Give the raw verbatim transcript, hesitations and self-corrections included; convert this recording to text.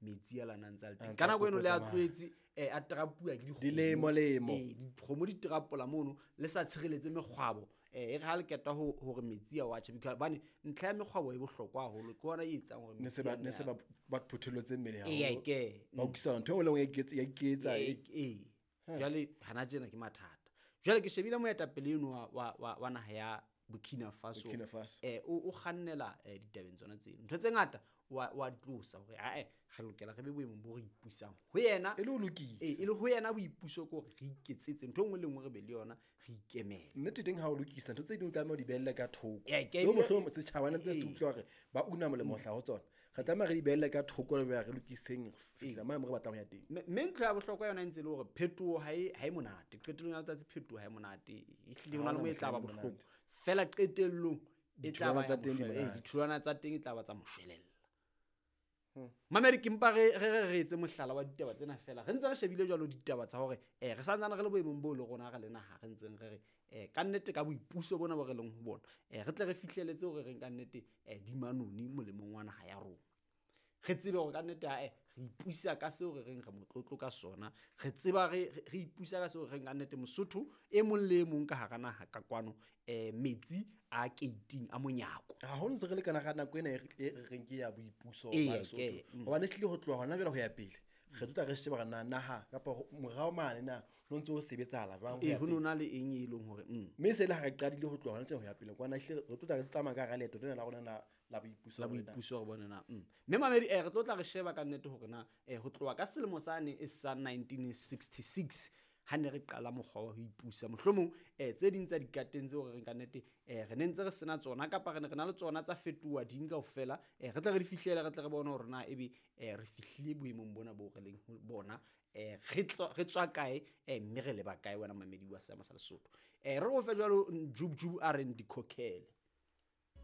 Metsi a lana ntse a le teng. A Ka nako eno le a tsamaya. tlohetse eh, a terapuwa ke dikgomo. Dilemo-lemo. Ee, dikgomo di terapola mono le sa tshireletse mekgwabo. Eh, e re ha le keta ho hore metsi a wa tjhe, because hobane ntlha ya mekgwabo e bohlokwa haholo, ke yona e etsang hore Ne se metsi ba a ne se nne a- ba ba phutholotse mmele Ee, haholo. ke. Ba utlwisisa ntho e nngwe le e nngwe ya iketsa ya iketsa. Ee, ee. Jwale hana tjena ke mathata. Jwale ke shebile moetapele eno wa, wa, wa, wa naha ya Burkina Faso. Burkina Faso. Eh, o, o kgannela, eh, ditabeng tsona tseno. Ntho tse ngata wa, wa di tlosa hore, ae, re lokela re be boemong bo re ipusang. Ho yena E le ho lokisa. Ee, e le ho yena boipuso ke hore re iketsetse ntho e nngwe le nngwe re be le yona, re ikemele. Nnete teng ha o lokisa ntho tse ding o tlameha ho di behelle ka thoko. Ee, ke Tseo ebile- mohlomong setjhaba ne ntse se Ee. utlwa hore ba una molemo ho hlaha ho tsona. Re tlameha re di behelle ka thoko re re lokiseng fihla mane mo re batlang ho ya teng. Mme, mme ntho ya bohlokwa yona e ntse e le hore phetoho ha e, ha e monate. Qetellong ya letsatsi phetoho ha e monate. Ehlile ho na le mo e tla ba Ha hona mohla e bohloko. monate. Feela qetellong e tla ba Ditholwana ya tsa teng di moshwelella. Ee, monate. ditholwana tsa teng e tla ba tsa moshwelella. Mamedi, ke mpa re, re, re, re etse mohlala wa ditaba tsena feela. Re ntse re shebile jwalo ditaba tsa hore, eh, re santsane re le boemong boo le rona re le naha re ntseng re re, eh, ka nnete ka boipuso bona bo re leng ho bona, eh, re tle re fihleletse hore re ka nnete, eh, di manoni molemong wa naha ya rona. Re tsebe hore ka nnete, ae, re ipusa ka seo re reng re motlotlo ka sona. Re tseba re, re, re ipusa ka seo re reng ka nnete Mosotho e mong le e mong ka hara naha ka kwano, eh, metsi a keiting a monyako. Haholo ntse re le kana ka nako ena e re, e re reng ke ya boipuso Ee, ba Lesotho. ke, mm. Hobane ehlile ho tloha hona jwale ho ya pele, re tlo tla re sheba hore na naha kapa ho, morao mane na ho ntse ho sebetsahala jwang ho Ee, ya ho no pele. na le eng e leng hore, mm. Mme se le ha re qadile ho tloha hona tjena ho ya pele kwana, ehlile re tlo tla re tsamaya ka hara leeto lena la rona la, la boipuso La hore na. boipuso re bone na, mm. Mme mamedi, eh, re tlo tla re sheba ka nnete hore na, eh, ho tloha ka selemo sane e sa nineteen sixty-six ha ne re qala mokgwa wa ho ipusa, mohlomong, eh, tse ding tsa dikateng tseo re reng ka nnete, eh, re ne ntse re sena tsona kapa re ne re na le tsona tsa fetoha ding kaofela, eh, re tle re di fihlele, re tle re bone hore na ebe, eh, re fihlile boemong bona bo re leng ho bona, eh, re tlo, re tswa kae, eh, mme re leba kae wena mamedi wa Seama sa Lesotho. Eh, re o fe jwalo Njubju a reng dikhokhele.